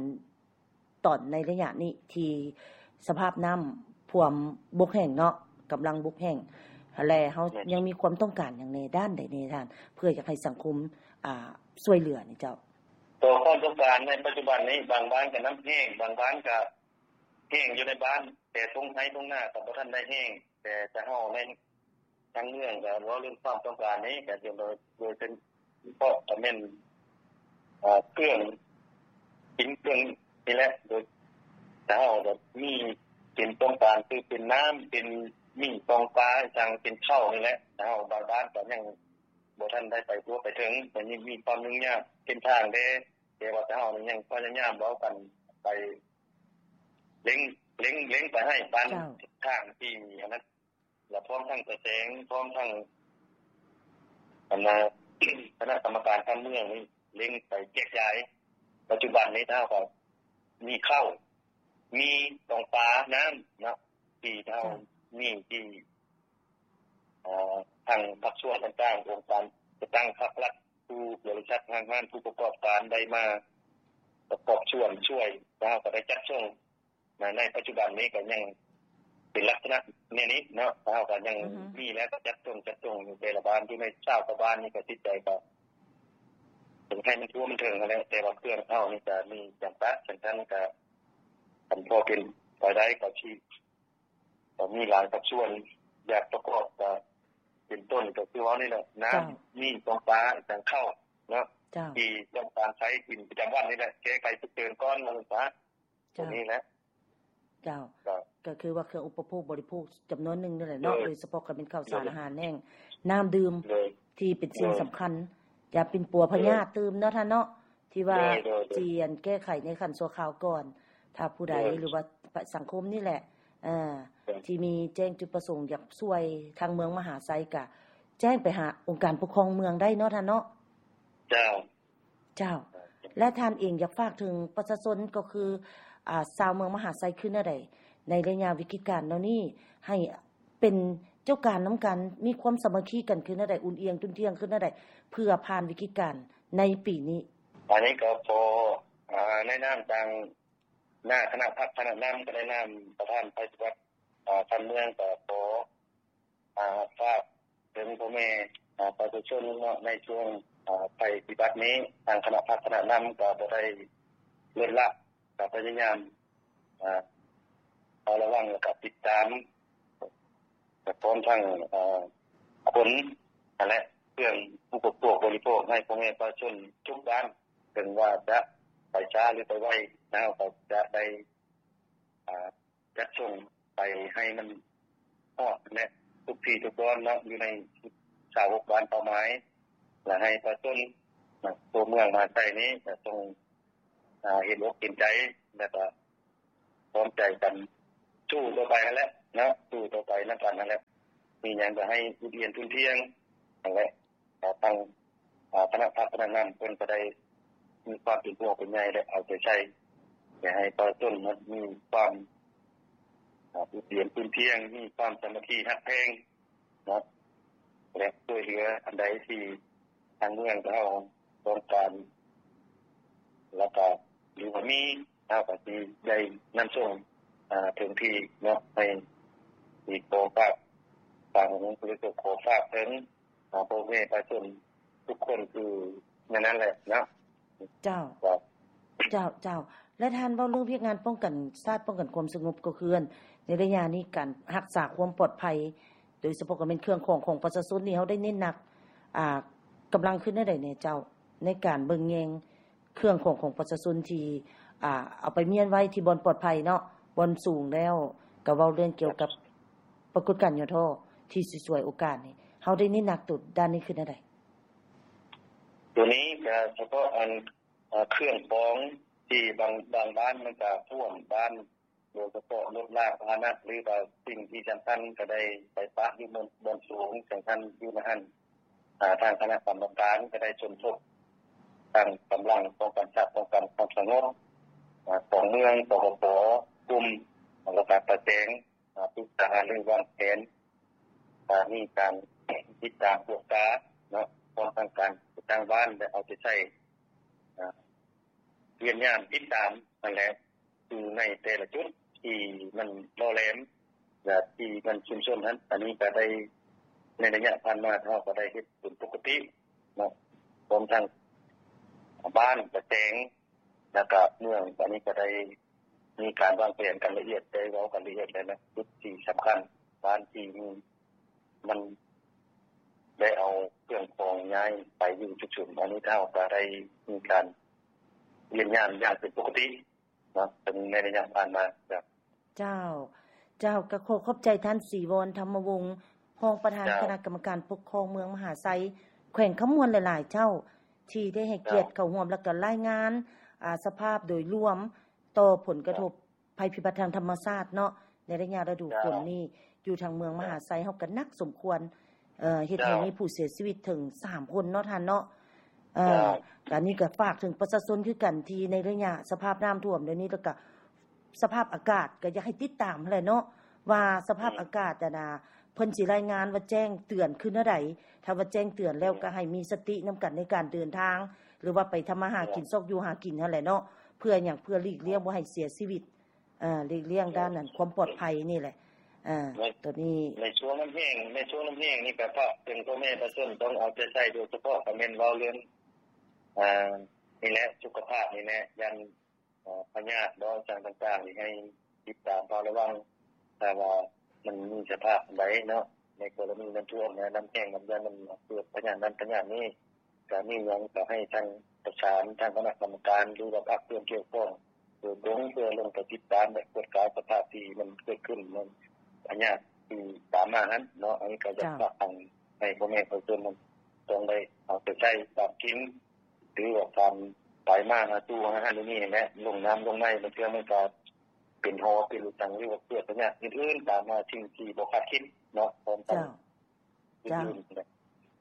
ຕອນໃນໄລຍະນີ້ທີ່ສະພາບນ້ຳຖ້ວມບົກແຫ້ງເນາະ ກຳລັງບົກແຫ້ງ ແລະ ເຮົາຍັງມີຄວາມຕ້ອງການຫຍັງແດ່ ດ້ານໃດແດ່ທ່ານ ເພື່ອຢາກໃຫ້ສັງຄົມ ອາ ຊ່ວຍເຫຼືອນີ້ເຈົ້າ? ຕໍ່ຄວາມຕ້ອງການໃນປັດຈຸບັນນີ້ ບາງບ້ານກໍນ້ຳແຫ້ງ ບາງບ້ານກໍແຫ້ງຢູ່ໃນບ້ານ ແຕ່ທົ່ງໄຮ່ທົ່ງນາກໍບໍ່ທັນໄດ້ແຫ້ງ ແຕ່ ແຕ່ເຮົາໃນ ທາງເມືອງກໍເວົ້າເລື່ອງຄວາມຕ້ອງການນີ້ ກໍຈະໂດຍ ໂດຍເປັນເພາະກໍແມ່ນ ເອີ ເຄື່ອງກິນເຄື່ອງນີ້ແຫຼະ ໂດຍ ແຕ່ເຮົາກໍມີເປັນຕ້ອງການ ຄືເປັນນ້ຳ ເປັນໝີ່ ປອງປາ ອີ່ຫຍັງ ເປັນເຂົ້ານີ້ແຫຼະ ແຕ່ເຮົາບາງບ້ານກໍຍັງບໍ່ທັນໄດ້ໄປທົ່ວໄປເຖິງ ກໍຍັງມີຄວາມຫຍຸ້ງຍາກເສັ້ນທາງແດ່ ແຕ່ວ່າແຕ່ເຮົານີ້ຍັງພະຍາຍາມເວົ້າກັນໄປ ເລັ່ງ ເລັ່ງ ເລັ່ງໄປໃຫ້ບ້ານ ເຈົ້າ ທາງທີ່ອັນນັ້ນ ແລະ ພ້ອມທັງຕາແສງ ພ້ອມທັງ ອັນນ່າ ຄະນະກຳມະການຂັ້ນເມືອງນີ້ເລັ່ງໄປແຈກຢາຍ. ປັດຈຸບັນນີ້ເຮົາກໍມີເຂົ້າ ມີຕ້ອງປາ ນ້ຳເນາະ ທີ່ເຮົາ ເຈົ້າ ມີທີ່ ເອີ ທາງພາກສ່ວນຕ່າງໆ ອົງການຈັດຕັ້ງພາກລັດ ຜູ້ບໍລິສັດ ຫ້າງຮ້ານ ຜູ້ປະກອບການໄດ້ມາປະກອບສ່ວນຊ່ວຍ ແລ້ວເຮົາກໍໄດ້ຈັດສົ່ງ. ໃນ ໃນປັດຈຸບັນນີ້ກໍຍັງເປັນລັກສະນະແນວນີ້ເນາະ ເຮົາກໍຍັງ ອືຮຶ ມີແລ້ວກໍຈັດສົ່ງ ຈັດສົ່ງຢູ່ແຕ່ລະບ້ານ ຢູ່ໃນຊາວກວ່າບ້ານນີ້ກໍຕິດໃຈ ກໍໃຫ້ມັນທົ່ວມັນເຖິງຫັ້ນແຫຼະ ແຕ່ວ່າເຄື່ອງເຮົານີ້ກໍມີຈຳກັດ ຈັ່ງຊັ້ນກໍຄັນພໍເປັນໄປໄດ້ກໍຊິ ກໍມີຫຼາຍພາກສ່ວນຢາກປະກອບ ກໍເປັນຕົ້ນກໍຄືເວົ້ານີ້ແຫຼະ ນ້ຳ ເຈົ້າ ມີຕ້ອງປາ ອີກທັງເຂົ້າເນາະ ເຈົ້າ ທີ່ຕ້ອງການໃຊ້ກິນປະຈຳວັນນີ້ແຫຼະ ແກ້ໄຂສຸກເສີນກ່ອນ ວ່າຊັ້ນຊະ ຕົວ ເຈົ້າ ນີ້ແຫຼະ. ເຈົ້າ ເຈົ້າ ກໍຄືວ່າເຄື່ອງອຸປະໂພກບໍລິໂພກຈຳນວນໜຶ່ງນີ້ແຫຼະເນາະ ໂດຍ ໂດຍສະເພາະກໍແມ່ນເຂົ້າສານ ໂດຍ ອາຫານແຫ້ງ ນ້ຳດື່ມ ໂດຍ ທີ່ເປັນສິ່ງ ໂດຍ ສຳຄັນ ຢ່າປິ່ນປົວພະຍາດ ໂດຍ ຕື່ມເນາະທ່ານເນາະ ທີ່ວ່າ ໂດຍ ໂດຍ ໂດຍ ຈະແກ້ໄຂໃນຂັ້ນຊົ່ວຄາວກ່ອນ ຖ້າຜູ້ໃດ ໂດຍ ຫຼືວ່າ ປະ ສັງຄົມນີ້ແຫຼະ ເອີ ໂດຍ ທີ່ມີແຈ້ງຈຸດປະສົງຢາກຊ່ວຍທາງເມືອງມະຫາໄຊ ກະແຈ້ງໄປຫາອົງການປົກຄອງເມືອງໄດ້ເນາະທ່ານເນາະ. ເຈົ້າ ເຈົ້າ ແລະທ່ານເອງຢາກຝາກເຖິງປະຊາຊົນ ກໍຄື ອາ ຊາວເມືອງມະຫາໄຊຄືແນວໃດ ໃນໄລຍະວິກິດການເຫຼົ່ານີ້ ໃຫ້ເປັນເຈົ້າການນຳກັນ ມີຄວາມສາມັກຄີກັນຄືແນວໃດ ອຸ່ນອຽງຕຸ່ນທ່ຽງຄືແນວໃດ ເພື່ອຜ່ານວິກິດການໃນປີນີ້? ອັນນີ້ກໍຂໍ ອາ ໃນນາມທາງໜ້າຄະນະພັກຄະນະນຳ ກໍໃນນາມປະທານໄພສະຫວັດ ອາ ຂັ້ນເມືອງ ກໍຂໍ ອາ ຝາກເຖິງພໍ່ແມ່ ອາ ປະຊາຊົນເນາະ ໃນຊ່ວງ ອາ ໄພພິບັດນີ້ ທາງຄະນະພັກຄະນະນຳກໍບໍ່ໄດ້ລົດລະ ກໍພະຍາຍາມ ອາ ເຝົ້າລະວັງ ແລ້ວກໍຕິດຕາມ ແລະ ພ້ອມທັງ ອາ ຄົນຫັ້ນແຫຼະ ເຄື່ອງອຸປະໂພກບໍລິໂພກໃຫ້ພໍ່ແມ່ປະຊາຊົນທຸກບ້ານ ເຖິງວ່າຈະໄປຊ້າ ຫຼື ໄປໄວ ເຮົາກໍຈະໄດ້ ອາ ຈັດສົ່ງໄປໃຫ້ມັນຮອດແຫຼະ ທຸກທີ່ທຸກບ່ອນເນາະ ຢູ່ໃນຊາວຫົກບ້ານເປົ້າໝາຍ ແລະ ໃຫ້ປະຊາຊົນ ນະ ຕົວເມືອງມະຫາໄຊນີ້ຈະຕ້ອງ ອາ ເຫັນອົກເຫັນໃຈ ແລ້ວກໍພ້ອມໃຈກັນສູ້ຕໍ່ໄປຫັ້ນແຫຼະເນາະ ສູ້ຕໍ່ໄປນຳກັນຫັ້ນແຫຼະ ມີຫຍັງກໍໃຫ້ອຸ່ນອຽງຕຸ່ນທ່ຽງຫັ້ນແຫຼະ. ແລ້ວທາງ ອາ ຄະນະພັກຄະນະນຳເພິ່ນກໍໄດ້ມີຄວາມເປັນຫ່ວງເປັນໃຍ ແລະ ເອົາໃຈໃສ່ ຢາກໃຫ້ປະຊາຊົນມີຄວາມ ອາ ອຸ່ນອຽງຕຸ່ນທ່ຽງ ມີຄວາມສາມັກຄີຮັກແພງເນາະ ແລະ ຊ່ວຍເຫຼືອອັນໃດທີ່ທາງເມືອງເຮົາຕ້ອງການ ແລ້ວກໍ ຫຼືວ່າມີ ເຮົາກໍຊິໄດ້ນຳສົ່ງ ອາ ເຖິງທີ່ເນາະ ໃຫ້ ທີ່ຂໍຝາກ ຝາກ ຫຼື ກໍຂໍຝາກເຖິງ ອາ ພໍ່ແມ່ປະຊາຊົນທຸກຄົນ ຄືແນວນັ້ນແຫຼະເນາະ. ເຈົ້າ ເຈົ້າ ເຈົ້າ ແລະ ທ່ານເວົ້າເລື່ອງວຽກງານປ້ອງກັນຊາດ ປ້ອງກັນຄວາມສະຫງົບ ກໍຄືໃນໄລຍະນີ້ການຮັກສາຄວາມປອດໄພ ໂດຍສະເພາະກໍແມ່ນເຄື່ອງຂອງຂອງປະຊາຊົນນີ້ ເຮົາໄດ້ເນັ້ນໜັກ ອາ ກຳລັງຂຶ້ນແນວໃດແດ່ເຈົ້າ ໃນການເບິ່ງແຍງ ເຄື່ອງຂອງຂອງປະຊາຊົນທີ່ ອ່າ ເອົາໄປມ້ຽນໄວ້ທີ່ບ່ອນປອດໄພເນາະ ບ່ອນສູງແລ້ວ ກໍເວົ້າເລື່ອງກ່ຽວກັບປາກົດການຫຍໍ້ທໍ້ທີ່ຊິສວຍໂອກາດນີ້ ເຮົາໄດ້ເນັ້ນໜັກໂຕດ້ານນີ້ຄືແນວໃດ? ໂຕນີ້ກໍສະເພາະອັນ ເອີ ເຄື່ອງຂອງທີ່ບາງ ບາງບ້ານມັນກໍຖ້ວມບ້ານ ໂດຍສະເພາະລົດລາກພາຫະນະ ຫຼືວ່າສິ່ງທີ່ສຳຄັນກໍໄດ້ໄປປະຢູ່ບ່ອນ ບ່ອນສູງ ຈັ່ງຊັ້ນຢູ່ໃນຫັ້ນ ອາ ທາງຄະນະກຳມະການກໍໄດ້ສົມທົບທັງກຳລັງປ້ອງກັນຊາດ ປ້ອງກັນຄວາມສະຫງົບ ອາ ຂອງເມືອງ ປກປ ກຸ່ມ ແລ້ວກໍປະແສງ ອາ ປຶກສາຫາລືວາງແຜນ ອາ ມີການຕິດຕາມກວດກາເນາະ ພ້ອມທັງການຈັດຕັ້ງບ້ານ ແລະ ເອົາໃຈໃສ່ ອາ ວຽກງານຕິດຕາມຫັ້ນແຫຼະ ຢູ່ໃນແຕ່ລະຈຸດທີ່ມັນຫຼໍ່ແຫຼມ ແລະ ທີ່ມັນຊຸມຊົນຫັ້ນ ອັນນີ້ກໍໄດ້ ໃນໄລຍະຜ່ານມາເຮົາກໍໄດ້ເຮັດເປັນປົກກະຕິເນາະ ຮວມທັງບ້ານກະແຕງ ແລ້ວກະເມືອງ ອັນນີ້ກໍໄດ້ມີການວາງແຜນກັນລະອຽດ ໄດ້ເວົ້າກັນລະອຽດແລ້ວນະ ຈຸດທີ່ສຳຄັນ ບ້ານທີ່ມີ ມັນໄດ້ເອົາເຄື່ອງຂອງຍ້າຍໄປຢູ່ຈຸດສຸມ ອັນນີ້ເຮົາກໍໄດ້ມີການວຽກງານຢ່າງເປັນປົກກະຕິເນາະ ເປັນໃນໄລຍະຜ່ານມາ. ເຈົ້າ ເຈົ້າ ເຈົ້າ ກໍຂໍຂອບໃຈທ່ານ ສີວອນ ທຳມະວົງ ຮອງປະທານ ເຈົ້າ ຄະນະກຳມະການປົກຄອງເມືອງມະຫາໄຊ ແຂວງຄຳມ່ວນ ຫຼາຍໆ ເຈົ້າ ທີ່ໄດ້ໃຫ້ກຽດ ເຈົ້າ ເຂົ້າຮ່ວມ ແລ້ວກໍລາຍງານ ອາ ສະພາບໂດຍລວມຕໍ່ຜົນກະທົບ ເຈົ້າ ໄພພິບັດທາງທຳມະຊາດເນາະ ໃນໄລຍະລະດູຝົນນີ້ ເຈົ້າ ຢູ່ທາງເມືອງມະຫາໄຊ ເຈົ້າ ເຮົາກໍໜັກສົມຄວນ ເອີ ເຮັດໃຫ້ ເຈົ້າ ມີຜູ້ເສຍຊີວິດເຖິງສາມຄົນເນາະທ່ານເນາະ. ເອີ ເຈົ້າ ການນີ້ກໍຝາກເຖິງປະຊາຊົນຄືກັນ ທີ່ໃນໄລຍະສະພາບນ້ຳຖ້ວມດຽວນີ້ ແລ້ວກໍສະພາບອາກາດ ກໍຢາກໃຫ້ຕິດຕາມຫັ້ນແຫຼະເນາະ ວ່າສະພາບ ອືມ ອາກາດຫັ້ນນະ ເພິ່ນຊິລາຍງານວ່າແຈ້ງເຕືອນຄືແນວໃດ. ຖ້າວ່າແຈ້ງເຕືອນແລ້ວ ແມ່ນ ກໍໃຫ້ມີສະຕິນຳກັນໃນການເດີນທາງ ຫຼືວ່າໄປທຳມາຫາກິນ ແມ່ນ ຊອກຢູ່ຫາກິນຫັ້ນແຫຼະເນາະ. ເພື່ອຫຍັງ? ເພື່ອຫຼີກລ້ຽງ ແມ່ນ ບໍ່ໃຫ້ເສຍຊີວິດ ເອີ ຫຼີກລ້ຽງດ້ານນັ້ນ ຄວາມປອດໄພນີ້ແຫຼະ. ເອີ ໃນ ໂຕນີ້ ໃນຊ່ວງນ້ຳແຫ້ງ ໃນຊ່ວງນ້ຳແຫ້ງນີ້ກໍຝາກເຖິງພໍ່ແມ່ປະຊາຊົນ ຕ້ອງເອົາໃຈໃສ່ ໂດຍສະເພາະກໍແມ່ນເວົ້າເລື່ອງ ອ່າ ນີ້ແຫຼະ ສຸຂະພາບນີ້ແຫຼະ ຢ້ານ ເອີ ພະຍາດເນາະ ສັງຕ່າງໆ ນີ້ໃຫ້ຕິດຕາມເຝົ້າລະວັງ ຖ້າວ່າມັນມີສະພາບໃດເນາະ ໃນກໍລະນີນ້ຳຖ້ວມ ນ້ຳແຫ້ງ ນ້ຳຢ້ານ ມັນເກີດພະຍາດນັ້ນພະຍາດນີ້ ກະມີຫຍັງກະໃຫ້ທາງປະສານທາງຄະນະກຳມະການ ຫຼືວ່າພາກສ່ວນກ່ຽວຂ້ອງໂດຍກົງ ເພື່ອລົງໄປຕິດຕາມ ແລະ ກວດກາສະພາບທີ່ມັນເກີດຂຶ້ນ ນັ້ນ ພະຍາດທີ່ຕາມມາຫັ້ນເນາະ. ອັນນີ້ກໍຢາກ ເຈົ້າ ຝາກໃຫ້ພໍ່ແມ່ປະຊາຊົນນັ້ນ ຕ້ອງໄດ້ເອົາໃຈໃສ່ການກິນ ຫຼືວ່າການໄປມາຫາສູ່ຫາຫັ້ນນີ້ແຫຼະ ລົງນ້ຳລົງໃນ ບາງເທື່ອມັນກໍເປັນຫໍເປັນອີ່ຫຍັງ ຫຼືວ່າເກີດພະຍາດອື່ນໆ ຕາມມາສິ່ງທີ່ບໍ່ຄາດຄິດເນາະ ພ້ອມກັນ. ເຈົ້າ ເຈົ້າ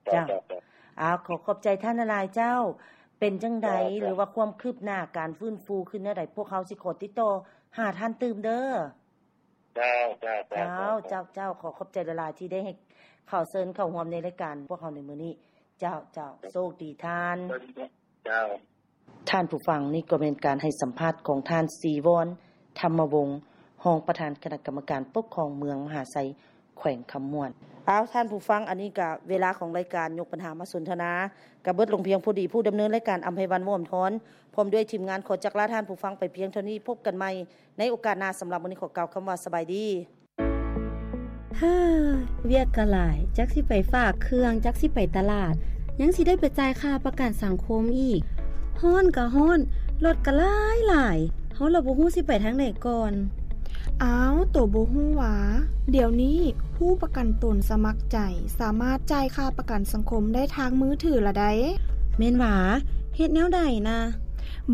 ເຈົ້າ ເຈົ້າ ເຈົ້າ ເຈົ້າ ເຈົ້າ. ອ້າວ ຂໍຂອບໃຈທ່ານຫຼາຍໆ ເຈົ້າ. ເປັນຈັ່ງໃດ ເຈົ້າ ເຈົ້າ ຫຼືວ່າຄວາມຄືບໜ້າການຟື້ນຟູຂຶ້ນແນວໃດ ພວກເຮົາຊິຂໍຕິດຕໍ່ຫາທ່ານຕື່ມເດີ. ເຈົ້າ ເຈົ້າ ເຈົ້າ ເຈົ້າ ເຈົ້າ ເຈົ້າ. ຂໍຂອບໃຈຫຼາຍໆ ທີ່ໄດ້ໃຫ້ເຂົ້າເຊີນເຂົ້າຮ່ວມໃນລາຍການພວກເຮົາໃນມື້ນີ້. ເຈົ້າ ເຈົ້າ ໂຊກດີທ່ານ. ເຈົ້າ. ທ່ານຜູ້ຟັງ, ນີ້ກໍແມ່ນການໃຫ້ສຳພາດຂອງທ່ານ ສີວອນ ທຳມະວົງ ຮອງປະທານຄະນະກຳມະການປົກຄອງເມືອງມະຫາໄຊ ແຂວງຄຳມ່ວນ. ອ້າວ ທ່ານຜູ້ຟັງ, ອັນນີ້ກະເວລາຂອງລາຍການຍົກບັນຫາມາສົນທະນາ ກະເບິດລົງພຽງພໍດີ. ຜູ້ດຳເນີນລາຍການ ອຳໄພວັນ ວໍ້າທອນ ພ້ອມດ້ວຍທີມງານ ຂໍຈັກລາທ່ານຜູ້ຟັງໄປພຽງເທົ່ານີ້. ພົບກັນໃໝ່ໃນໂອກາດໜ້າ. ສຳລັບມື້ນີ້ ຂໍກ່າວຄຳວ່າສະບາຍດີ. ເຮີ ວຽກກໍຫຼາຍ, ຈັກຊິໄປຝາກເຄື່ອງ, ຈັກຊິໄປຕະຫຼາດ, ຍັງຊິໄດ້ໄປຈ່າຍຄ່າປະກັນສັງຄົມອີກ. ຮ້ອນກໍຮ້ອນ, ລົດກໍຫຼາຍໆ, ເຮົາລະບໍ່ຮູ້ຊິໄປທາງໃດກ່ອນ. ອ້າວ, ໂຕບໍ່ຮູ້ຫວາ? ດຽວນີ້ຜູ້ປະກັນຕົນສະໝັກໃຈ ສາມາດຈ່າຍຄ່າປະກັນສັງຄົມໄດ້ທາງມືຖືລະໃດ໋. ແມ່ນຫວາ? ເຮັດແນວໃດນະ?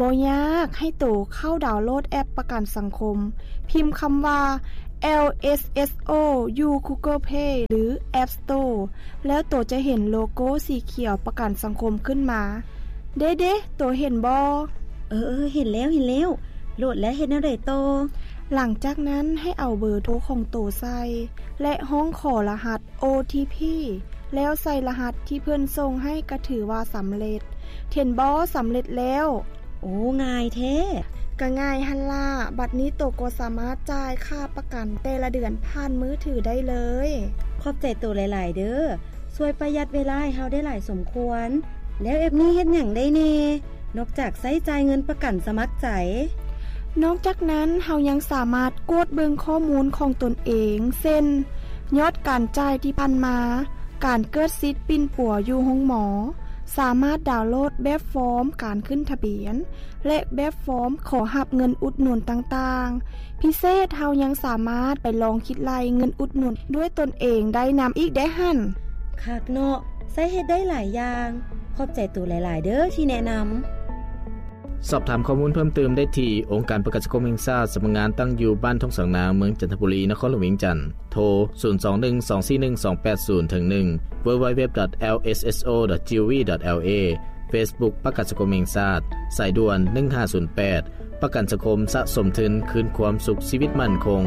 ບໍ່ຍາກ, ໃຫ້ໂຕເຂົ້າດາວໂຫຼດແອັບປະກັນສັງຄົມ, ພິມຄຳວ່າ ແອລ ເອສ ເອສ ໂອ ຢູ່ Google Play ຫຼື App Store ແລ້ວໂຕຈະເຫັນໂລໂກ້ສີຂຽວປະກັນສັງຄົມຂຶ້ນມາ. ເດ້ໆ, ໂຕເຫັນບໍ່? ເອີໆ, ເຫັນແລ້ວ, ເຫັນແລ້ວ. ໂຫຼດແລ້ວເຮັດແນວໃດຕໍ່? ຫຼັງຈາກນັ້ນໃຫ້ເອົາເບີໂທຂອງໂຕໃສ່ ແລະ ຮ້ອງຂໍລະຫັດ ໂອ ທີ ພີ ແລ້ວໃສ່ລະຫັດທີ່ເພິ່ນສົ່ງໃຫ້ກໍຖືວ່າສຳເລັດ. ເຫັນບໍ່? ສຳເລັດແລ້ວ. ໂອ້ ງ່າຍແທ້. ກະງ່າຍຫັ້ນລະ. ບັດນີ້ໂຕກໍສາມາດຈ່າຍຄ່າປະກັນແຕ່ລະເດືອນຜ່ານມືຖືໄດ້ເລີຍ. ຂອບໃຈໂຕຫຼາຍໆເດີ. ຊ່ວຍປະຢັດເວລາໃຫ້ເຮົາໄດ້ຫຼາຍສົມຄວນ. ແລ້ວແອັບນີ້ເຮັດຫຍັງໄດ້ແດ່? ນອກຈາກໃຊ້ຈ່າຍເງິນປະກັນສະໝັກໃຈ. ນອກຈາກນັ້ນ, ເຮົາຍັງສາມາດກວດເບິ່ງຂໍ້ມູນຂອງຕົນເອງ, ເຊັ່ນ ຍອດການຈ່າຍທີ່ຜ່ານມາ, ການເກີດສິດປິ່ນປົວຢູ່ໂຮງໝໍ, ສາມາດດາວໂຫຼດແບບຟອມການຂຶ້ນທະບຽນ ແລະ ແບບຟອມຂໍຮັບເງິນອຸດໜູນຕ່າງໆ. ພິເສດ, ເຮົາຍັງສາມາດໄປລອງຄິດໄລ່ເງິນອຸດໜູນດ້ວຍຕົນເອງໄດ້ນຳອີກເດ້ຫັ້ນ. ຄັກເນາະ, ໃຊ້ເຮັດໄດ້ຫຼາຍຢ່າງ. ຂອບໃຈໂຕຫຼາຍໆເດີທີ່ແນະນຳ. ສອບຖາມຂໍ້ມູນເພີ່ມເຕີມໄດ້ທີ່ ອົງການປະກັນສັງຄົມແຫ່ງຊາດ ສຳນັກງານຕັ້ງຢູ່ບ້ານທົ່ງສາງນາງ ເມືອງຈັນທະບູລີ ນະຄອນຫຼວງວຽງຈັນ. ໂທ ສູນສອງໜຶ່ງ ສອງສີ່ໜຶ່ງ ສອງແປດສູນ ເຖິງໜຶ່ງ www.lsso.gov.la. Facebook ປະກັນສັງຄົມແຫ່ງຊາດ. ສາຍດ່ວນ ໜຶ່ງຫ້າສູນແປດ. ປະກັນສັງຄົມສະສົມທຶນ ຄືນຄວາມສຸກຊີວິດໝັ້ນຄົງ.